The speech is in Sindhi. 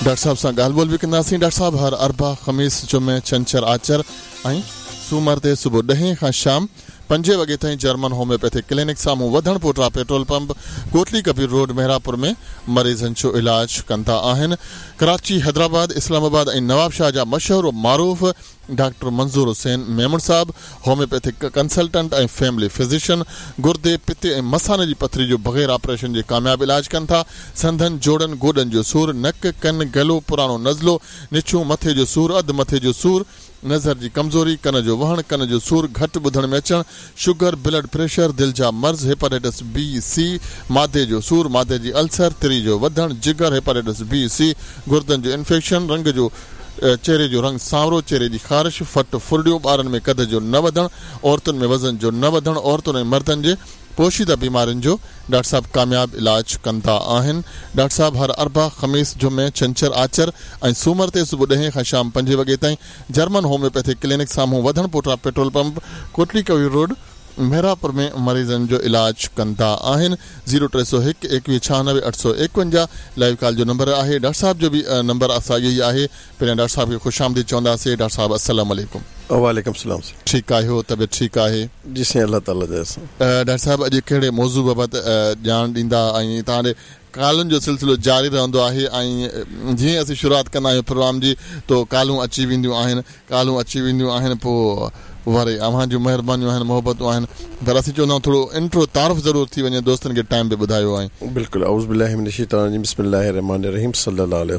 ڊاڪٽر صاحب سان ڳالهه ٻولهه به ڪنداسين. ڊاڪٽر صاحب هر اربع، خميس، جمعي، ڇنڇر، آچر ۽ سومر تي صبح ڏهين کان شام پنجين وڳي تائين جرمن هوميوپيٿڪ ڪلينڪ سامهون وڌڻ پوٽا petrol pump Kotli Kabir road Mehrapur ۾ مريضن جو علاج ڪندا آهن. ڪراچي، حيدرآباد، اسلام آباد ۽ نوابشاهه جا مشهور و معروف ڊاڪٽر منظور حسين ميمڻ صاحب هوميوپيٿڪ ڪنسلٽنٽ ۽ فيملي فزيشن گردي، پتي ۽ مثاني جي پٿري جو بغير آپريشن جي ڪامياب علاج ڪن ٿا. سنڌن، جوڙن، گوڏن جو سور، نڪ، ڪن، گلو، پراڻو نزلو، نڇون، مٿي جو سور، اڌ مٿي جو سور، نظر جي ڪمزوري، ڪن جو وهڻ، ڪن جو سور، گهٽ ٻڌڻ ۾ اچڻ، شگر، بلڊ پريشر، دل جا مرض، هيپاٽائٽس بي، سي، معدي جو سور، معدي جي السر، تري جو وڌڻ، جگر، هيپاٽائٽس بي، سي، گردن جو انفيڪشن، رنگ جو چهري جو رنگ سانورو، چهري جي خارش، ڦٽ ڦرڙيون، ٻارن ۾ قد جو نه وڌڻ، عورتن ۾ وزن جو نه وڌڻ، عورتن ۽ مردن جي پوشيده بيمارين جو ڊاڪٽر صاحب ڪامياب علاج ڪندا آهن. ڊاڪٽر صاحب هر اربع، خميس، جمعي، ڇنڇر، آچر ۽ سومر تي صبح ڏهين کان شام پنجين وڳي تائين جرمن هوميوپيٿڪ ڪلينڪ سامهون وڌڻ پوٽا petrol pump Kotli Kabir road Mehrapur ۾ مريضن جو علاج ڪندا آهن زيرو 301 21 96 851 لائيو ڪال جو نمبر آهي ڊاڪٽر صاحب جو به نمبر ساڳيو ئي آهي پهريان ڊاڪٽر صاحب کي خوش آمديد چونداسي ڊاڪٽر صاحب السلام عليڪم. وعليڪم السلام سائين. ٺيڪ آهيو طبيعت ٺيڪ آهي. جي سائين الله تعالي جي احسان. ڊاڪٽر صاحب اڄ ڪهڙي موضوع بابت ڄاڻ ڏيندا ۽ توهان ڏي ڪالن جو سلسلو جاري رهندو آهي ۽ جيئن اسين شروعات ڪندا آهيون پروگرام جي تو ڪالون اچي وينديون آهن ڪالون اچي وينديون آهن پوء وري اوهان جون مهربانيون آهن محبتون آهن پر اسين چوندا آهيون ٿورو انٽرو تعارف ضرور ٿي وڃي دوستن کي ٽائيم به ٻڌايو ۽. بلڪل اعوذ بالله من الشيطان الرجيم بسم الله الرحمن الرحيم صلي الله عليه.